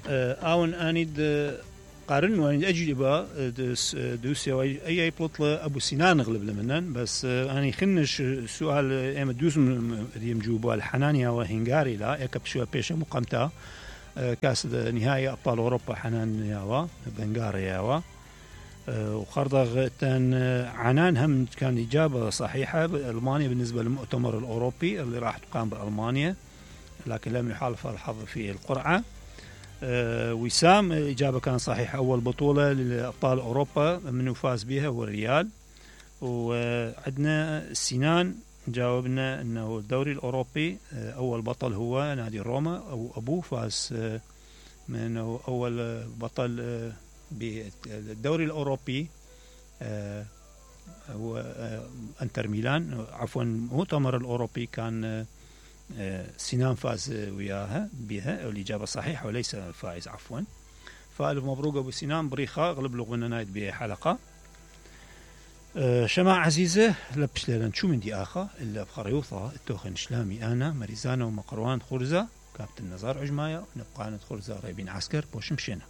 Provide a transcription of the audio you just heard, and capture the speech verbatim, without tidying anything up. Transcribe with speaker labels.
Speaker 1: اون اني قارن وين اجوبه دوسي اي بلطله ابو سنان غلب لمنن بس اني خنش سؤال ام دوس يم جوبه الحنانيا وهنغاري لا اكب شو بيش مقامتا كاس نهائي ابطال اوروبا حنان ياوا بنغاري ياوا وخرضغ تن عنان هم كان اجابه صحيحه. المانيا بالنسبه للمؤتمر الاوروبي اللي راح تقام بالمانيا لكن لم يحالف الحظ في القرعه. أه وسام إجابة كان صحيحة. أول بطولة لأبطال أوروبا من فاز بها هو الريال. وعندنا سنان جاوبنا أنه الدوري الأوروبي أول بطل هو نادي روما أو أبوه فاز من أول بطل بالدوري الأوروبي هو انتر ميلان عفوا المؤتمر الأوروبي كان سنان فاز وياها بها والإجابة صحيحة وليس الفائز عفوا. فألف مبروك أبو سنان بريخة غلب لغونا نايد بحلقة. أه شماع عزيزة لبش ليلان شو من دي آخر إلا بخريوطة التوخن شلامي أنا مريزانا ومقروان خرزة كابتن نزار عجماية نبقى ندخل زاريبين عسكر بوش مشينا.